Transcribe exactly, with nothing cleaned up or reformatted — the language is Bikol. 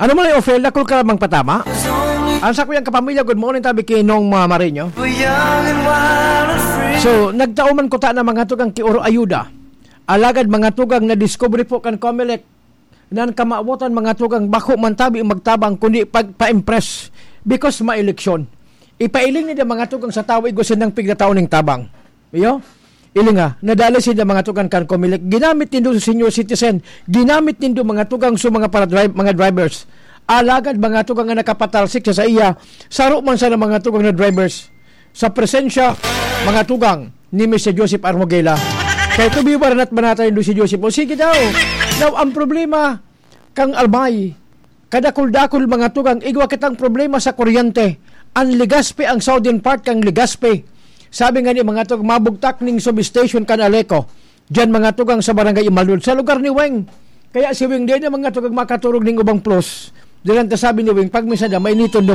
Ano man ay offer, dakul ka lamang patama? Ang sa kuyang kapamilya, good morning, tabi kay Nong, mga marinyo. So, nagtao man kuta na mga tugang ki Oro Ayuda. Alagad mga tugang na discovery po kan Comelec, nan kamawotan mga tugang bako man tabi magtabang, kundi pagpa-impress. Because ma-eleksyon. Ipailing ni mga tugang sa tawo, igwa sindang pigtatao ning tabang. Iyo? Ilinga, nadali sinda mga tugang kan Comelec. Ginamit nindo sa senior citizen. Ginamit nindo mga tugang sa mga para drive, mga drivers. Alagad mga tugang nga nakapatalsik sa saiya, saro man sana mga tugang na drivers. Sa presensya, mga tugang ni Mister Joseph Armogela. Kay tubi baranat banata nindo si Joseph. O sige daw. Now, ang problema, kang Albay, kadakul-dakul mga tugang, igwa kitang problema sa kuryente. Ang Legazpi ang southern part kang Legazpi. Sabi nga ni mga tugang, mabugtak ning substation kan Aleco. Diyan mga tugang sa barangay Imalud, sa lugar ni Weng. Kaya si Weng din ang mga tugang makaturog ning ubang plus. Diyan ta sabi ni Weng, pag minsan na mainiton